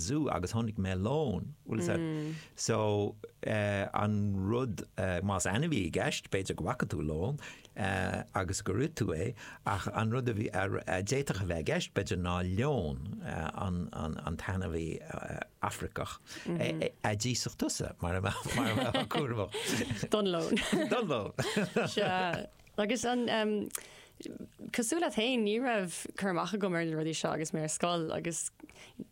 zoo agus chonaic mé leon, bhfuil fhios a'd. So an rud, más ainmhí i gceist, b'fhéidir go bhfaca tú leon agus gur ith tú é, ach an rud a bhí, a d'fhéadfadh a bheith i gceist b'fhéidir ná leon, an t-ainmhí Afracach a d'íosfadh tusa mar a mbeifeá cúramach. Don leon. Don leon. Sea. Agus an, cosúil leat féin, ní raibh cur amach agam ar na rudaí seo agus mé ar scoil agus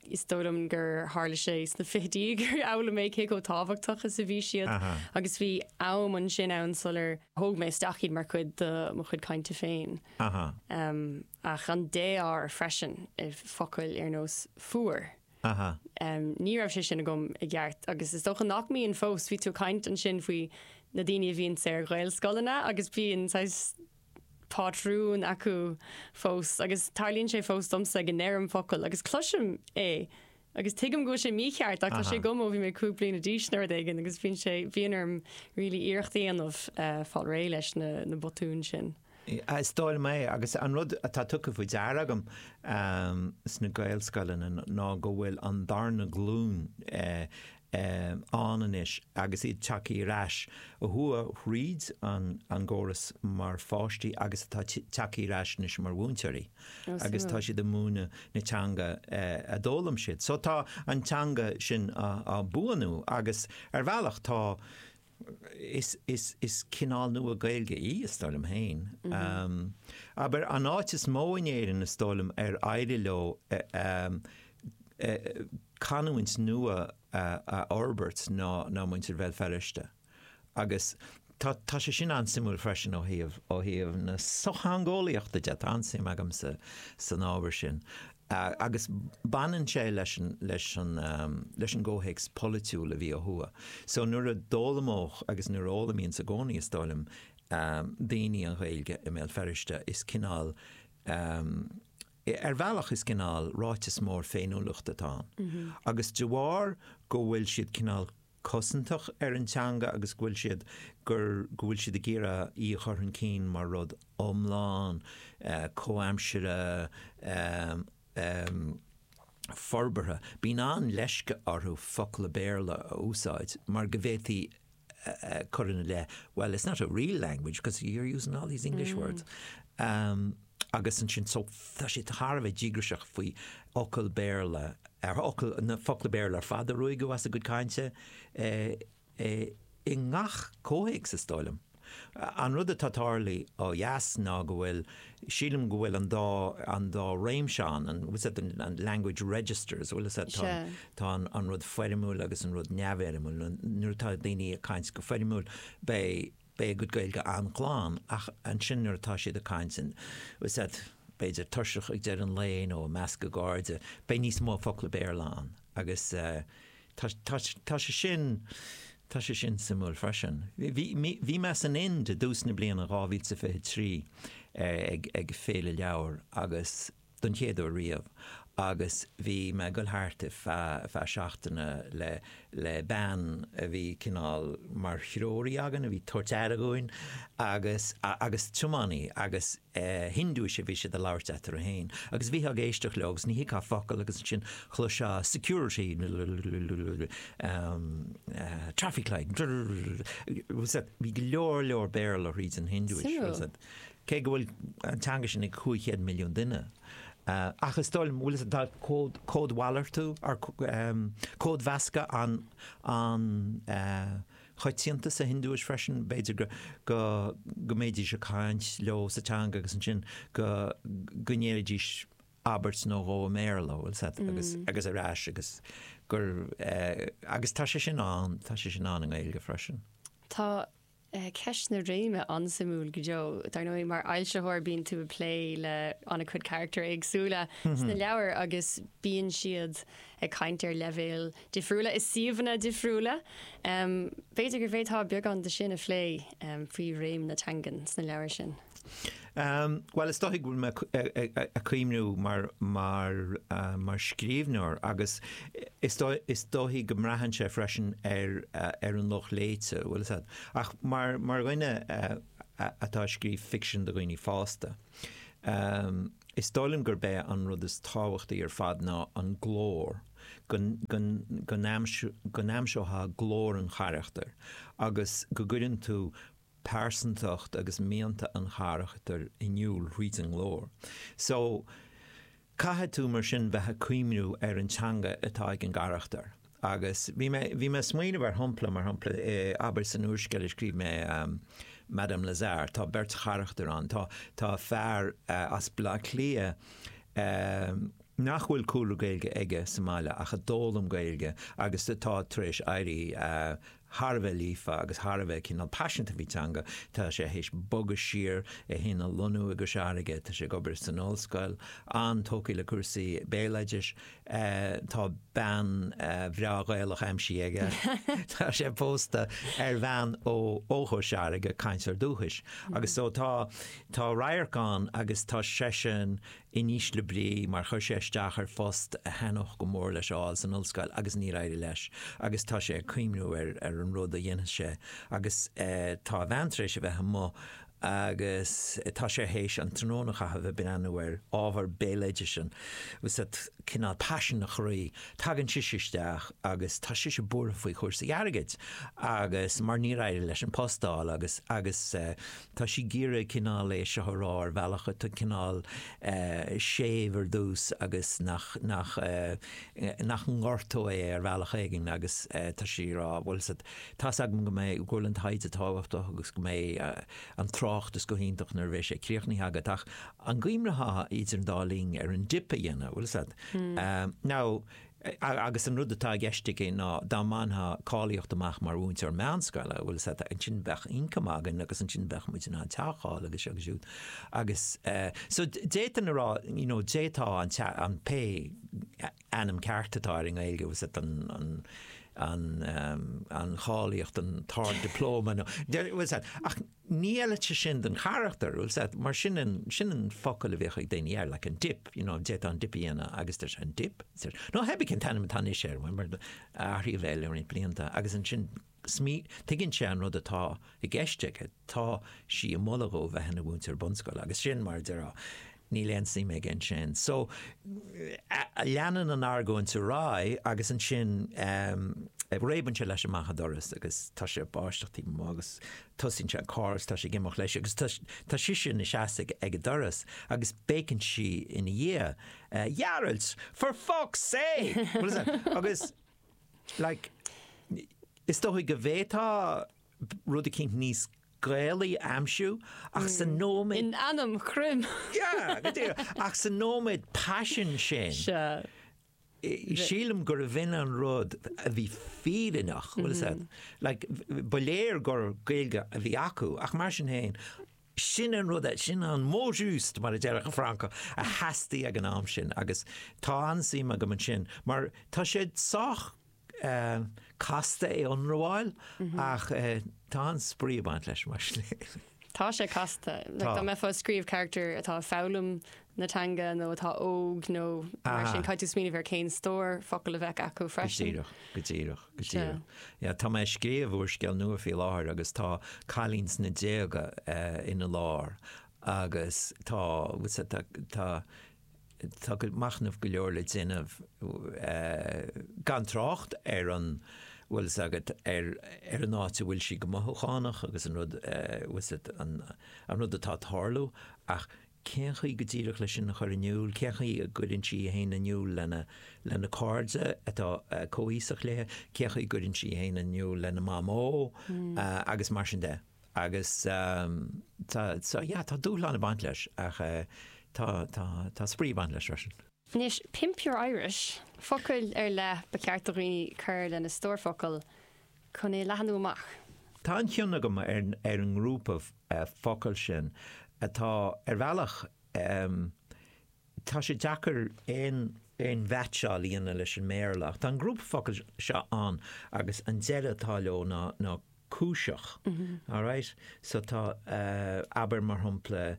is dóigh liom gur tharla sé sna fichidí gur fhoghlaim mé cé chomh tábhachtach is a bhí siad agus bhí am ansin ann sular thóg mé isteach iad mar chuid de mo chuid cainte féin. Ach an dé-r freisin i bhfocail ar nós fuar. Aha. Ní raibh sé sin agam i gceart agus is dócha nach mbíonn fós. Bhí tú ag caint ansin faoi na daoine a bhíonns ar Ghaelscoileanna agus bíonn saghas pátrún acu fós agus tarlaíonn sé fós domsa go ndeirim focal agus cloisim é agus tuigim go bhfuil sé mícheart ach tá sé agam ó bhí mé 5 bliana d'aois nó rud éigin agus bíonn sé, bíonn orm really iarracht a dhéanamh fáil réidh leis na botúin sin. Is dóigh liom é, agus an rud atá tugtha faoi deara agam sna Gaelscoileanna ná go bhfuil an darna glúin ann anois agus iad tagtha ar ais a chuaigh thríd an gcóras mar pháistí agus atá tagtha ar ais anois mar mhúinteoirí agus tá siad ag múineadh na teanga a d'fhoghlaim siad. So tá an teanga sin á buanú agus ar bhealach tá Is cineál nua Gaeilge í, is dóigh liom féin. Abair, an áit is mó in Éirinn, is dóigh liom, ar éirigh leo canúint nua a fhorbairt ná muintir Bhéal Feirste. Agus tá sé sin an-suimiúil freisin ó thaobh, ó thaobh na sochtheangeolaíochta de, tá an-suim agamsa san ábhar sin. Agus baineann sé leis an, leis an, leis an gcomhthéacs polaitiúil a bhí ó thuaidh. So nuair a d'fhoghlaimeodh, agus nuair a fhoghlaimíonns i gcónaí is dóigh liom, daoine an Ghaeilge i mBéal Feirste, is cineál, ar bhealach is cineál ráiteas mór féiniúlachta atá ann. Agus de bharr go bhfuil siad cineál cosantach ar an teanga agus go bhfuil siad, gur, go bhfuil siad ag iarraidh í a chur chun cinn mar rud iomlán comhaimseartha, forbartha. Bíonn an-leisce orthu focla Béarla a úsáid mar go bhféadfaí cur ina leith, well, it's not a real language because you're using all these English words. Agus ansin, so, tá siad thar a bheith díograiseach faoi fhocal Béarla, ar fhocal, na focla Béarla ar fad a ruaigeadh as a gcuid cainte i ngach comhthéacs, is dóigh liom. An rud atá tarlaithe ó dheas ná go bhfuil, sílim go bhfuil an dá, an dá réimse ann, an, what's that, an language registers, bhfuil fhios a'd, tá, tá an rud foirmiúil agus an rud neamhfhoirmiúil. Nuair atá daoine ag caint go foirmiúil, beidh, beidh a gcuid Gaeilge an-ghlan, ach ansin nuair atá siad ag caint in, what's that, b'fhéidir tuirseach ag deireadh an lae nó i measc a gcairde, beidh níos mó focla Béarla ann agus tá, tá, tá sé sin, tá sé sin suimiúil freisin. Bhí, bhí mé san Ind i dtús na bliana 2023 ag, ag Féile Leabhar agus don chéad uair riamh agus bhí mé ag dul thart ar feadh seachtaine le le bean a bhí cineál mar threoraí againn, a bhí ag tabhairt aire dhúinn agus agus tiománaí agus Hindúis a bhí siad ag labhairt eatarthu féin agus bhítheá ag éisteacht leo agus ní thuigfeá focal agus ansin chloisfeá security traffic light bhí go leor leor Béarla thríd an Hindúis. Cé go bhfuil an teanga sin ag 500 milliún duine, ach is dóigh liom, bhfuil fhios a'd, tá cód, códmhalartú, or códmheascadh an-choitianta sa Hiondúis freisin, b'fhéidir go, go, go mbeidís ag caint leo sa teanga agus ansin go, go ndéarfaidís abairt nó dhó i mBéarla, bhfuil fhios a'd, agus, agus ar ais agus gur, agus tá sé sin ann, tá sé sin ann i nGaeilge freisin. Tá Ceist na réime an-suimiúil go deo. Dar ndóigh, mar fhoilsitheoir bíonn tú ag plé le an-chuid carachtair éagsúla sna leabhair agus bíonn siad ag caint ar leibhéil difriúla i suíomhanna difriúla. B'fhéidir go bhféadfá beagán de sin a phlé faoi réim na teangan sna leabhair sin. Bhuel, is dóigh go bhfuil mé ag cuimhniú mar, mar, mar scríbhneoir agus is dóigh, is dóigh go mbraitheann sé freisin ar, ar an lucht léite, bhfuil fhios a'd. Ach mar, mar dhuine atá ag scríobh ficsean do dhaoine fásta, is dóigh liom gurb é an rud is tábhachtaí ar fad ná an glór. go go n-aimseofá glór an charachtair agus go gcuireann tú pearsantacht agus mianta an charachtair in iúl thríd an nglór. So, caithfidh tú mar sin bheith ag cuimhniú ar an teanga atá ag an gcarachtar. Agus bhí mé, bhí mé ag smaoineamh ar shampla, mar shampla, abair san úrscéal a scríobh mé, Madame Lazare, tá beirt charachtar ann. Tá, tá fear as Baile Átha Cliath nach bhfuil cúlra Gaeilge aige sa mbaile ach a d'fhoghlaim Gaeilge agus atá tar éis éirí thar a bheith líofa agus thar a bheith cineál paiseanta faoi teanga. Tá sé théis bogadh siar, é féin a lonnú i gCois Fharraige, tá sé ag obair san ollscoil, an-tógtha le cúrsaí béaloidis. Tá bean bhreá Ghaelach aimsithe aige. Tá sé pósta ar bhean ó Chois Fharraige, cainteoir dúchais. Agus so tá tá radharc ann agus tá seisean in ísle brí mar chuir sé isteach ar phost a thaitneodh go mór leis a fháil san ollscoil agus níor éirigh leis agus tá sé ag cuimhniú ar ar an rud a dhéanfas sé agus tá a bhean tar éis a bheith amuigh agus tá sé théis an tráthnóna a chaitheamh ag breathnú ar ábhar béaloidis an bhfuil a fhios agat cineál paisean a chroí. Tagann sise isteach agus tá sise buartha faoi chúrsaí airgid agus mar níor éirigh leis an post a fháil agus agus Tá sí ag iarraidh cineál é seo a rá ar bhealach atá cineál séimh ar dtús agus nach, nach, nach ngortóidh é ar bhealach éigin agus tá sí ag rá, bhfuil a fhios agat, tá's agam go mbeidh, go bhfuil an taighde tábhachtach agus go mbeidh an tráchtas go hiontach nuair a bheidh sé críochnaithe agat ach an gcuimhneofá idir an dá linn ar an dip a dhéanamh, bhfuil a fhios agat. Now, Agus an rud atá i gceist aici ná dá mbainfeá cáilíocht amach mar mhúinteoir meánscoile, bhfuil a fhios agat, ansin bheadh ioncam againn agus ansin bheadh muid in ann teach a fháil agus seo agus siúd. Agus so d'fhéadfainn a rá, you know, d'fhéadfá an te, an pé ainm ceart atá air i nGaeilge, bhfuil a fhios agat, an, an, an, an cháilíocht, an tArd-Dioplóma nó, bhfuil a fhios agat, ach Ní fheilfeadh sé sin don charachtar, bhfuil a fhios agat, mar sin an, sin an focal a bhíodh ag daoine air, like an dip, you know, d'fhéadfá an dip a dhéanamh agus deir sé an dip? Nó cibé cén t-ainm atá anois air, mar athraíodh é le roinnt blianta agus ansin smí, tuigeann sé an rud atá i gceist aige, tá sí ag moladh dhó bheith ina mhúinteoir bunscoile agus sin mar a déarfá, Níl aon suim aige ansin. So, leanann an argóint ar aghaidh agus ansin réabann sé leis amach an doras agus tá sé ag báisteach taobh amuigh agus tosaíonn sé an carr agus tá sé ag imeacht leis agus tá sise ina seasamh ag an doras agus béiceann sí ina dhiaidh, Ghearailt, for fuck's sake! Agus, like, is dóigh go bhféadfá rud eicínt níos Gaelaí a aimsiú ach sa nóiméad. In ainm Chroim! Yeah, go díreach. Ach sa nóiméad paisin sin, Sea. sílim gurbh in an rud a bhí fírinneach, bhfuil a fhios agat. Like, ba léir gur Gaeilge a bhí acu, ach mar sin féin, sin an rud, sin an mot juste, mar a déarfadh an Francach, a theastaigh ag an am sin agus tá an-suim agam ansin mar tá sé sách casta é a ionramháil ach tá an-spraoi ag baint leis mar sin. Tá sé casta. Like, dá mbeifeá ag scríobh charachtar atá ag foghlaim na teanga nó atá óg nó mar sin, caithfidh tú smaoineamh ar cén stór focal a bheadh acu freisin. Go díreach, go díreach, go díreach. Yeah, tá mé ag scríobh úrscéal nua faoi láthair agus tá cailín sna déaga ina lár agus tá, tá, tá, Tá machnamh go leor le déanamh, gan trácht ar an, bhfuil fhios agat, ar ar an áit a bhfuil sí go mothúchánach agus an rud, bhfuil fhios agat, an an rud atá ag tarlú, ach cén chaoi go díreach leis sin a chur in iúl, cén chaoi a gcuireann sí í féin in iúl lena lena cairde atá comhaoiseach léi, cén chaoi a gcuireann sí í féin in iúl lena mamó agus mar sin de. Agus tá, so yeah, tá dúshlán ag baint leis ach tá, tá, tá spraoi ag baint leis freisin. Anois, Pimp Your Irish, focail ar leith ba cheart do dhaoine cur lena stór focal chun é a leathnú amach. Tá an-chion agam ar, ar an ngrúpa focal sin atá ar bhealach, Tá sé deacair aon aon mheaitseáil a dhéanamh leis an mBéarla ach tá an grúpa focal seo ann agus an deireadh atá leo ná ná cúiseach. Alright? So tá abair mar shampla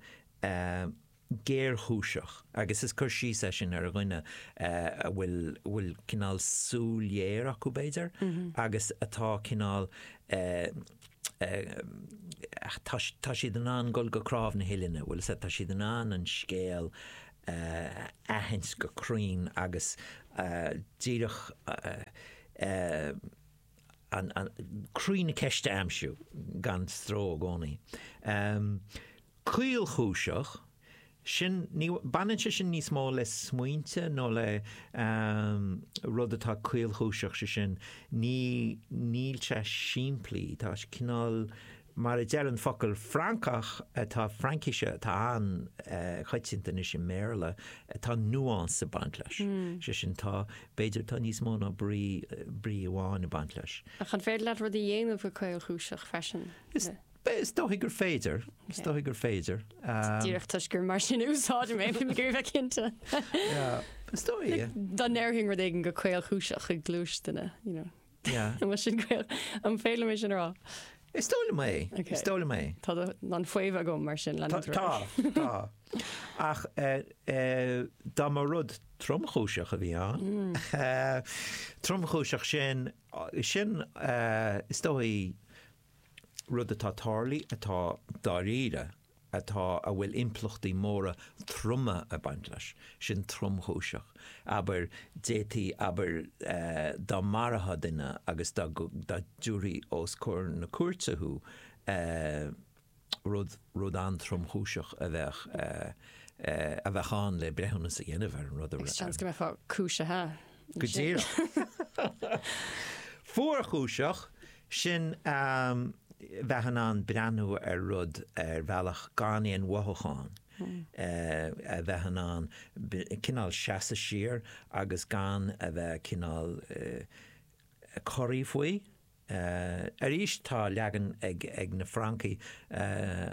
géarchúiseach agus is cur síos é sin ar dhuine a bhfuil bhfuil cineál súil ghéar acu b'fhéidir agus atá cineál tá tá siad in ann dul go cnámh na huillinne, bhfuil fhios agat, tá siad in ann an scéal a aithint go cruinn agus Díreach an croí na ceiste a aimsiú gan stró i gcónaí. Caolchúiseach, sin, ní, baineann sé sin níos mó le smaointe nó le rud atá caolchúiseach, sé sin, ní, níl sé simplí, tá sé cineál, mar a deir an focal Francach atá Fraincise atá an-choitianta anois i mBéarla, tá nuance ag baint leis. Sé sin, tá, b'fhéidir, tá níos mó ná brí, brí amháin ag baint leis. Ach an féidir leat rud a dhéanamh go caolchúiseach freisin? Is. Is dóigh gur féidir. Is dóigh gur féidir. Díreach toisc gur mar sin a úsáidim é, bím ag iarraidh bheith cinnte. Yeah, is dóigh, yeah. Dá ndéarfainn rud éigin go caolchúiseach i gcluais duine, you know. Yeah. An bhfuil sin caol, an féidir liom é sin a rá? Is dóigh liom é. Okay. Is dóigh liom é. Tá an faomhadh agam mar sin leanúint ar aghaidh. Tá, tá. Ach dá mba rud tromchúiseach a bhí ann, tromchúiseach sin, sin is dóigh, rud atá tarlaithe, atá dáiríre, atá, a bhfuil impleachtaí móra troma ag baint leis, sin tromchúiseach. Abair, d'fhéadfaí, abair, dá marófá duine agus dá dtabharfaí os comhair na cúirte thú, rud, rud an-tromchúiseach a bheadh, a bheadh ann le breithiúnas a dhéanamh ar an rud a. Agus seans go mbeifeá cúisithe. Go díreach. Fuarchúiseach, sin bheith in ann breathnú ar rud ar bhealach gan aon mhothúchán, a bheith in ann cineál seasamh siar agus gan a bheith cineál corraithe faoi. Arís tá leagan ag na Francaigh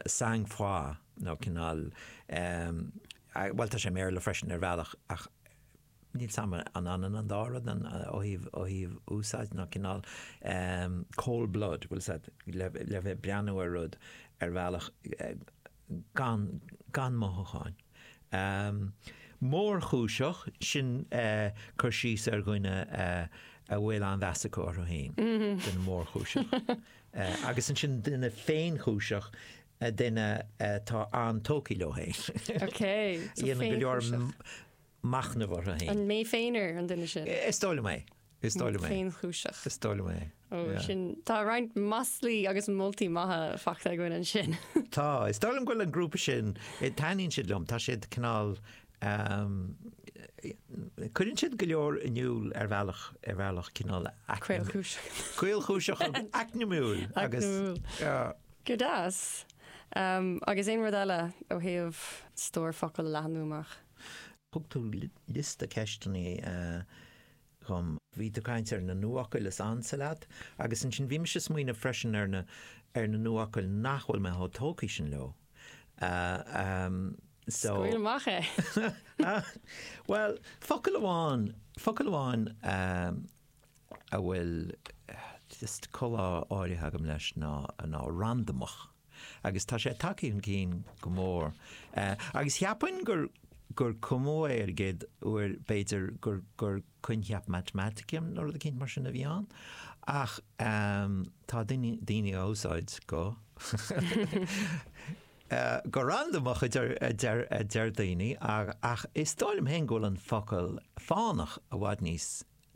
sang froid nó cineál, bhuel tá sé i mBéarla freisin ar bhealach ach Níl 's a'm an ionann an dá rud an ó thaobh ó thaobh úsáid nó cineál cold blood, bhfuil 's a'd, le le bheith breathnú ar rud ar bhealach gan gan mothúcháin. Mórchúiseach, sin cur síos ar dhuine a bhfuil an-mheas acu orthu féin, duine mórchúiseach. Agus ansin duine féinchúiseach, duine atá an-tógtha leo féin. Ok, so A dhéanann go leor féinchúiseach. machnamh orthu féin. An mé féin an duine sin? Is dóigh liom é. Is dóigh liom é. Féinchúiseach. Is dóigh liom é. Ó, sin, tá roinnt maslaí agus moltaí maithe faighte againn ansin. Tá. Is dóigh liom go bhfuil an grúpa sin, taitníonn siad liom, tá siad cineál, cuireann siad go leor in iúl ar bhealach, ar bhealach cineál Caolchúiseach. Caolchúiseach agus eacnamúil. Eacnamúil. Go deas. Agus aon rud eile ó thaobh stór focal a leathnú amach? Thug tú liosta ceisteanna dhom. Bhí tú ag caint ar na nuafhocail is ansa leat agus ansin bhí mise ag smaoineamh freisin ar na ar na nuafhocail nach bhfuil mé chomh tógtha sin leo. So. Scaoil amach é! Bhuel, focal amháin, focal amháin a bhfuil just comhbhá áirithe agam leis ná ná randamach. Agus tá sé tagtha chun cinn go mór. Agus cheapfainn gur gur cumadh é ar an gcéad uair, b'fhéidir gur gur coincheap matamaitice nó rud eicínt mar sin a bhí ann. Ach tá daoine daoine á úsáid go go randamach a deir a deir a deir daoine ach is dóigh liom féin go bhfuil an focal fánach i bhfad níos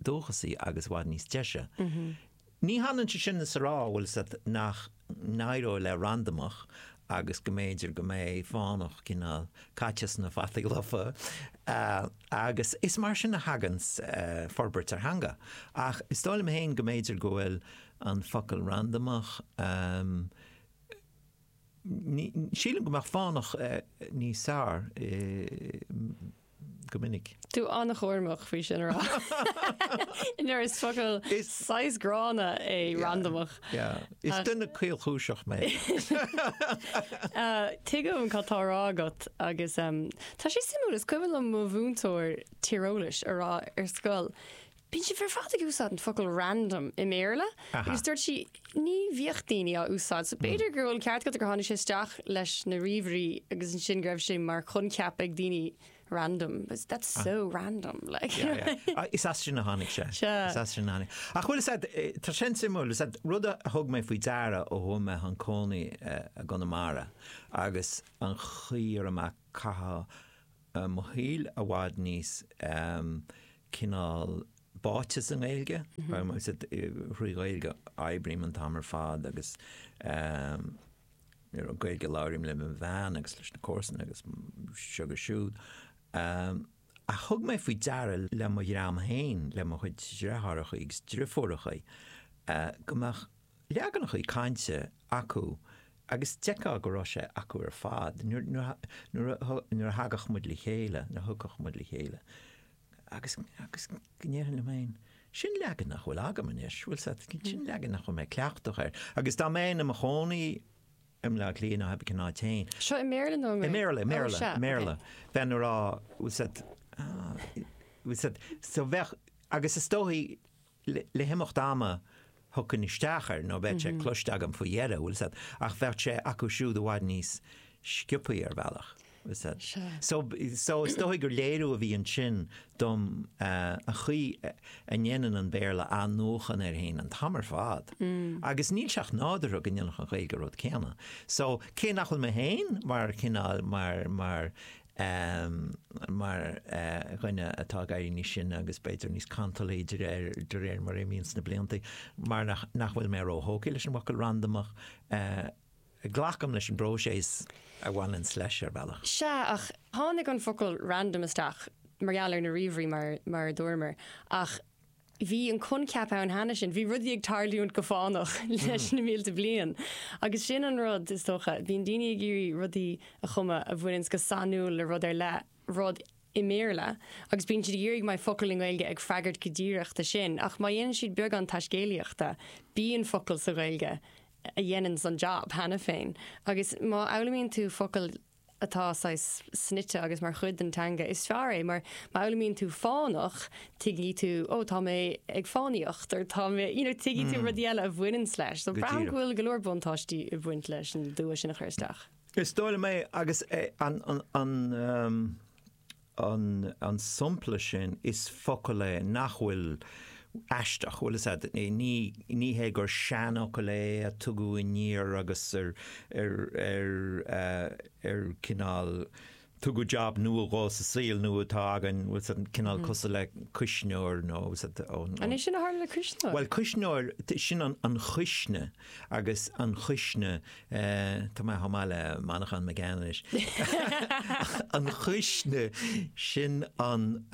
dúchasaí agus i bhfad níos deise. Ní hionann sé sin is a rá, bhfuil 's a'd, nach n-éireodh le randamach agus go mb'fhéidir go mbeidh fánach cineál caite sna fataí lofa agus is mar sin a thaganns forbairt ar theanga. Ach is dóigh liom féin go mb'fhéidir go bhfuil an focal randamach, Sílim go mbeadh fánach níos fearr go minic. Tú an-chúramach faoi sin a rá. Nuair is focal saghas gránna é randamach. Is duine caolchúiseach mé. Tuigim cad tá á rá agat agus tá sé suimiúil, is cuimhin liom mo mhúinteoir tíreolais a rá ar scoil, Bíonn sibh ar fad ag úsáid an focal random i mBéarla agus dúirt sí ní bhíodh daoine á úsáid so b'fhéidir go bhfuil an ceart agat gur tháinig sé isteach leis na ríomhairí agus ansin go raibh sé mar choincheap ag daoine random but that's so random like. Yeah, yeah. Is as sin a tháinig sé. Sea. Is as sin a tháinig. Ach bhfuil 'fhios a'd, tá sin suimiúil, 'fhios a'd, rud a thug mé faoi deara ó chuaigh mé chun cónaí i gConamara agus an chaoi a raibh mé ag caitheamh mo shaoil i bhfad níos. cineál báite sa nGaeilge, thrí Ghaeilge oibrím an t-am ar fad agus you know, Gaeilge a labhraím le mo bhean agus leis na comharsana agus seo agus siúd. Ach thug mé faoi deara le mo dhream féin, le mo chuid deartháireacha agus driofúracha, go mbeadh leaganacha cainte acu agus d'fheicfeá go raibh sé acu ar fad nuair a thagadh muid le chéile, nuair a thiocfadh muid le chéile. Agus, agus go ndéarfainn liom féin, sin leagan nach bhfuil agam anois, bhfuil 's agat, sin leagan nach bhfuil mé cleachtach air. Agus dá mbeinn i mo chónaí i mBleá Cliath nó cibé cén áit féin. Seo i mBéarla nó i nGaeilge? I mBéarla, i Mbéarla, i mBéarla. Bheinn ag rá, bhfuil 's agat, ah, bhfuil 's agat, so bheadh, agus is dóichí, Le himeacht ama thiocfainn isteach air nó bheadh sé cloiste agam faoi dheireadh, bhfuil 's agat, ach bheadh sé acu siúd i bhfad níos sciobthaí ar bhealach, bhfuil 's agat. So, so is dóigh gur léiriú a bhí ansin dom an chaoi a ndéanann an Béarla athnuachan air féin an t-am ar fad. Agus níl sé ach nádúrtha go ndéanfadh an Ghaeilge an rud céanna. So, cé nach bhfuil mé féin mar chineál, mar, mar mar dhuine atá ag éirí níos sine agus b'fhéidir níos cantalaí de réir de réir mar a imíonns na blianta, mar nach nach bhfuil mé róthógtha leis an bhfocal randamach, glacaim leis an bpróiseas a bhaineanns leis ar bhealach. Sea, ach tháinig an focal random isteach mar gheall ar na ríomhairí mar mar a dúramar, ach Bhí an coincheap ann cheana sin, bhí rudaí ag tarlúint go fánach leis na mílte bliain. Agus sin an rud, is dócha, bíonn daoine ag iarraidh rudaí a chumadh a bhaineanns go sainiúil le rud ar leith, rud i mBéarla, agus bíonn siad ag iarraidh go mbeidh focal i nGaeilge ag freagairt go díreach do sin. Ach má dhéanann siad beagán taiscéalaíochta, bíonn focal sa Ghaeilge a dhéananns an jab cheana féin. Agus má fhoghlaimíonn tú focal atá saghas snoite agus mar chuid den teanga, is fearr é mar má fhoghlaimíonn tú fánach, tuigfidh tú, oh tá mé ag fánaíocht or tá mé, you know, tuigfidh tú rudaí eile a bhaineanns leis. So braithim go bhfuil go leor buntáistí ag baint leis an dua sin a chur isteach. Is dóigh liom é agus an, an, an, An sampla sin, is focal é nach bhfuil aisteach, bhfuil fhios a'd, ní, ní hé gur seanfhocal é a tugadh aniar agus ar, ar, ar, ar cineál, tugadh jab nua dhó sa saol nua atá againn, bhfuil fhios a'd, cineál cosúil le cuisneoir nó, bhfuil fhios a'd, ón, An é sin a tharla le cuisneoir? Bhuel, cuisneoir, sin an, an chuisne agus an chuisne, Tá mé chomh maith le Manchán Magan anois. An chuisne, sin an,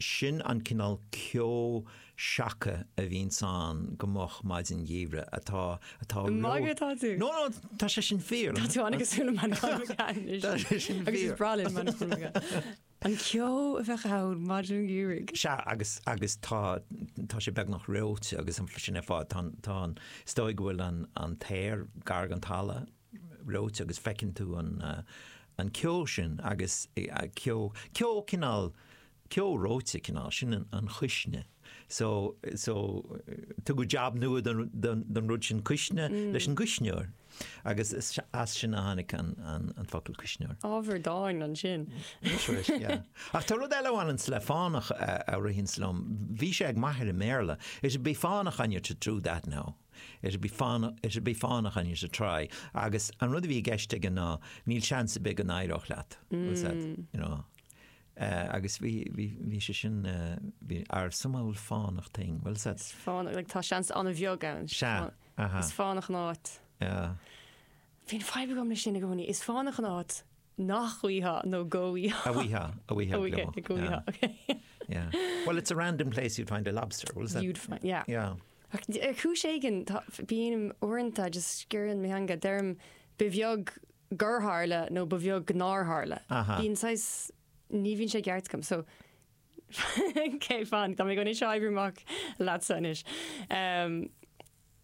sin an cineál ceo seaca a bhíonns ann go moch maidin gheimhridh atá, atá Ag magadh atá tú? No, no, tá sé sin fíor. Tá tú an-chosúil le Manchán Magan anois. Tá sé sin fíor. Agus is breá linn Manchán Magan. An ceo a bheadh ann maidin gheimhridh. Sea, agus, agus tá, tá sé beagnach reoite agus an, sin é fáth, tá an, tá an, is dóigh go bhfuil an, an t-aer gar don talamh reoite agus feiceann tú an, an ceo sin agus ceo, ceo cineál, ceo reoite cineál, sin an, an chuisne. So, so, tugadh jab nua don, don, don rud sin cuisne leis an gcuisneoir. Agus is as sin a tháinig an, an, an focal cuisneoir. Ábhar dáin ansin. Anois, yeah. Ach tá rud eile a bhaineanns le fánach a, a ritheanns liom. Bhí sé ag m'athair i mBéarla. It'd be fánach on you to do that now. It'd be fánach, it'd be fánach on you to try. Agus an rud a bhí i gceist aige ná níl seans ar bith go n-éireodh leat. Was that, you know. Agus bhí, bhí, bhí sé sin, bhí, ar some old fánach thing, bhfuil 's a'd? Is fánach, like tá seans an-bheag ann. Sea, aha. Is fánach an áit. Yeah. Bíonn fadhb agam leis sin i gcónaí, is fánach an áit nach bhfaighfeá nó go bhfaighfeá. A bhfaighfeá, a bhfaighfeá, A bhfaighfeá, go bhfaighfeá, okay. Yeah. Well, it's a random place you'd find a lobster, bhfuil 's a'd? You'd find, yeah. Yeah. Ach ar chúis éigin, tá, bím uaireanta just sciorrann mo theanga, deirim, ba bheag gur tharla nó ba bheag nár tharla. Bíonn saghas, ní bhíonn sé ceart agam. So, ok, fan, tá mé chun é seo a oibriú amach leatsa anois. Um,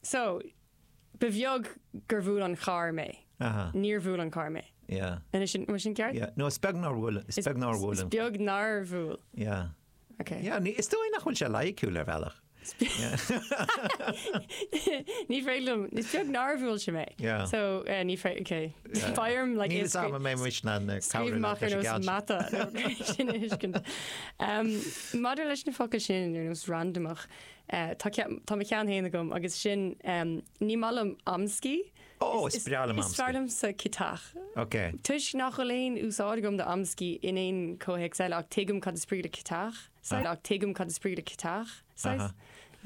so, ba bheag gur bhuail an carr mé. Aha. Níor bhuail an carr mé. Yeah. Anois, an bhfuil sin ceart? Yeah. No, is beag nár bhuail, is beag nár bhuail an. Is beag nár bhuail. Yeah. Ok. Yeah, ní, is dóigh nach bhfuil sé loighciúil ar bhealach. Ní féidir liom, is beag nár bhuail sé mé. Yeah. So, eh, ní féidir, ok. Beidh orm, like, Níl a fhios agam an mbeidh muid in ann Scríobh cabhrú amach leat ar leis an nós gceann sin. mata nó sin a thuiscint. Um, maidir leis na focail sin ar nós randamach, Tá tá mo cheann féin agam agus sin ní maith liom amscaí. Ó, is breá liom amscaí. Is fearr liomsa ciotach. Ok. Toisc nach bhfuil aon úsáid agam do amscaí in aon chomhthéacs eile ach tuigim cad is brí le ciotach, saghas, ach tuigim cad is brí le ciotach, saghas.